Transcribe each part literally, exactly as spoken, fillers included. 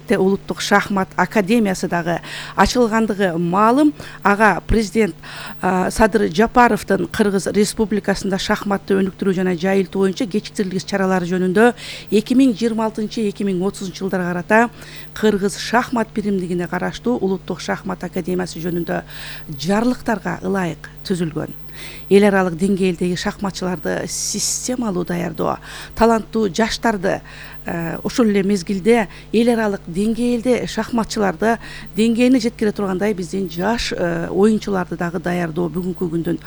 албетте улуттук шахмат академиясы дагы ачылгандыгы маалым. Ага президент Садыр Жапаровдун Кыргыз Республикасында шахматты өнүктүрүү жана жайылтуу боюнча кечиктирилгис чаралары жөнүндө эки миң жыйырма алтынчы эки миң отузунчу жылдарга карата Кыргыз шахмат биримдигине караштуу улуттук шахмат академиясы жөнүндө жарлыктарга ылайык түзүлгөн. Эл аралык деңгээлдеги шахматчыларды системалуу даярдоо, таланттуу жаштарды ошол эле мезгилде эл аралык деңгээлде шахматчыларды деңгээлине жеткире тургандай биздин жаш оюнчуларды дагы даярдоо бүгүнкү күндүн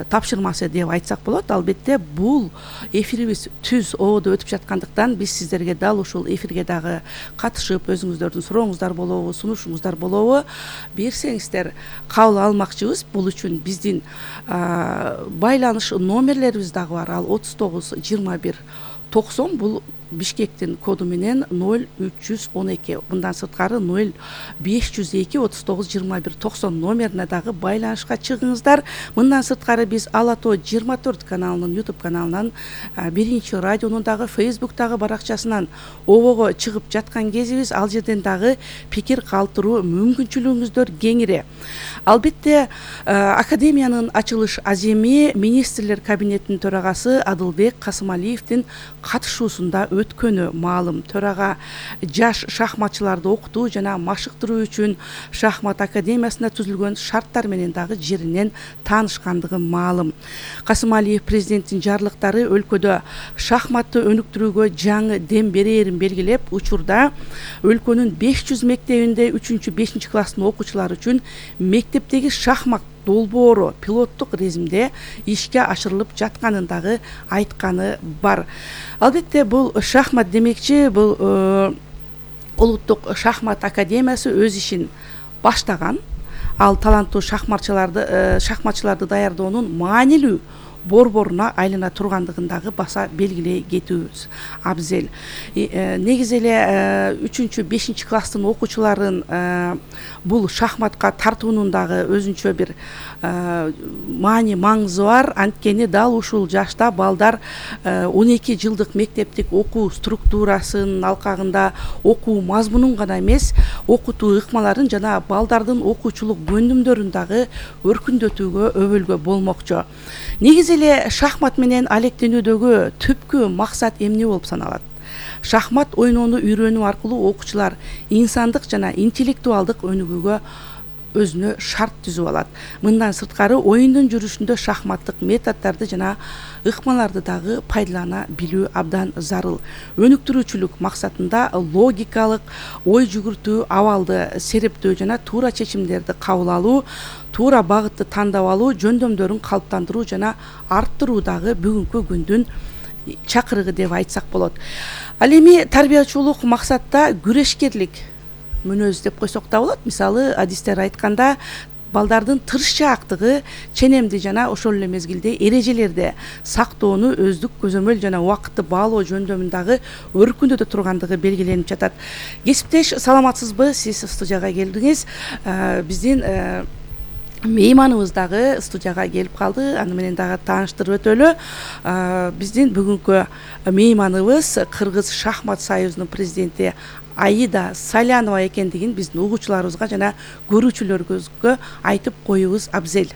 тапшырмасы деп айтсак болот. Албетте бул эфирибиз түз ободо өтүп жаткандыктан биз сиздерге дал ушул эфирге дагы катышып, өзүңүздөрдүн сурооңуздар болобу, сунушуңуздар болобу берсеңиздер кабыл алмакчыбыз. Бул үчүн биздин байланыш номерлерибиз дагы бар. Ал отуз тогуз жыйырма бир токсон, бул Бишкектин коду менен ноль үч жүз он эки. Мындан сырткары ноль беш жүз эки отуз тогуз жыйырма бир токсон номерине дагы байланышка чыгыңыздар. Мындан сырткары биз Ала Тоо жыйырма төрт каналынын YouTube каналынан, биринчи радионун дагы Facebook'тагы баракчасынан обого чыгып жаткан кезибиз. Ал жерден дагы пикир калтыруу мүмкүнчүлүгүңүздөр кеңири. Албетте академиянын ачылыш аземи министрлер кабинетинин төрагасы Адылбек Касымалиевдин катышуусунда өткөнү маалым. Төрага жаш шахматчыларды окутуу жана машыктыруу үчүн шахмат академиясында түзүлгөн шарттар менен дагы жеринен таанышкандыгы маалым. Касымалиев президенттин жарлыктары өлкөдө шахматты өнүктүрүүгө жаңы дем берээрин белгилеп, учурда өлкөнүн беш жүз мектебинде үчүнчү бешинчи класстын окуучулары үчүн мектептеги шахмат долбоору пилоттук режимде ишке ашырылып жатканын дагы айтканы бар. Албетте бул шахмат демекчи, бул улуттук шахмат академиясы өз ишин баштаган. Ал таланттуу шахматчыларды шахматчыларды даярдоонун маанилүү борборуна айлана тургандыгын дагы баса белгилей кетүүбүз абзел. Негизи эле үчүнчү бешинчи класстын окуучуларын бул шахматка тартуунун дагы өзүнчө бир маани маңызы бар. Анткени дал ушул жашта балдар он эки жылдык мектептик окуу структурасынын алкагында окуу мазмунун гана эмес, окутуу ыкмаларын жана балдардын окуучулук көндүмдөрүн дагы өркүндөтүүгө, өбөлгө болмокчу. Негизи эле шахмат менен алектенүүдөгү түпкү максат эмне болуп саналат? Шахмат ойноону үйрөнүү аркылуу окуучулар инсандык жана интеллектуалдык өнүгүүгө өзүнө шарт түзүп алат. Мындан сырткары оюндун жүрүшүндө шахматтык методдорду жана ыкмаларды дагы пайдалана билүү абдан зарыл. Өнүктүрүүчүлүк максатында логикалык ой жүгүртүү, абалды серептөө жана туура чечимдерди кабыл алуу, туура багытты тандап алуу, жөндөмдөрүн калыптандыруу жана арттыруу дагы бүгүнкү күндүн чакырыгы деп айтсак болот. Ал эми тарбиячулук максатта күрөшкерлик мүнөз деп койсок да болот. Мисалы, адистер айтканда балдардын тырышчаактыгы, ченемди жана ошол эле мезгилде эрежелерди сактоону, өздүк көзөмөл жана убакытты баалоо жөндөмүн дагы өркүндөтө тургандыгы белгиленип жатат. Кесиптеш, саламатсызбы? Сиз студияга келдиңиз. Биздин мейманыбыз дагы студияга келип калды. Аны менен дагы тааныштырып өтөлү. Биздин бүгүнкү мейманыбыз Кыргыз шахмат союзунун президенти Аида Салянова экендигин биздин угуучуларыбызга жана көрүүчүлөрүбүзгө айтып коюубуз абзел.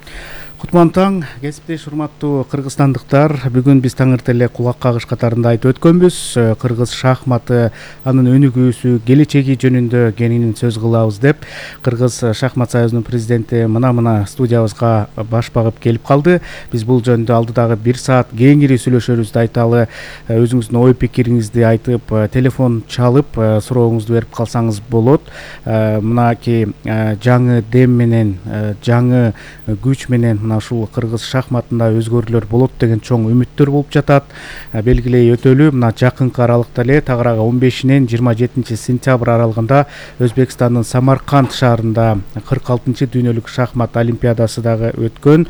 Кутман таң, кесиптеш урматтуу кыргызстандыктар. Бүгүн биз таңыртең эле кулак кагыш катарында айтып өткөнбүз. Кыргыз шахматы, анын өнүгүүсү, келечеги жөнүндө кеңинен сөз кылабыз деп Кыргыз шахмат союзунун президенти мына-мына студиябызга баш багып келип калды. Биз бул жөнүндө алдыдагы бир саат кеңири сүйлөшөрүбүздү айталы. Өзүңүздүн ой пикириңизди айтып, телефон чалып, сурооңузду берип калсаңыз болот. Мынакей жаңы дем менен, жаңы күч менен мына ушул кыргыз шахматында өзгөрүүлөр болот деген чоң үмүттөр болуп жатат. Белгилей өтөлү, мына жакынкы аралыкта эле тагыраагы он бешинен жыйырма жетинчи сентябрь аралыгында Өзбекстандын Самарканд шаарында кырк алтынчы дүйнөлүк шахмат олимпиадасы дагы өткөн.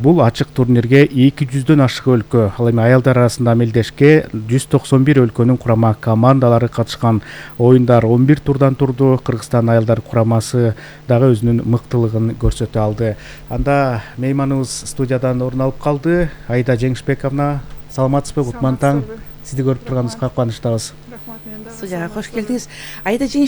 Бул ачык турнирге эки жүздөн ашык өлкө, ал эми аялдар арасында амелдешке жүз токсон бир өлкөнүн курама командалары катышкан. Оюндар он бир турдан турду. Кыргызстан аялдар курамасы дагы өзүнүн мыктылыгын көрсөтө алды. Анда мейманыбыз студиядан орун алып калды. Аида Жеңишбековна, саламатсызбы? Кутман таң. Сизди көрүп турганыбызга кубанычтабыз. Студияга кош келдиңиз. Аида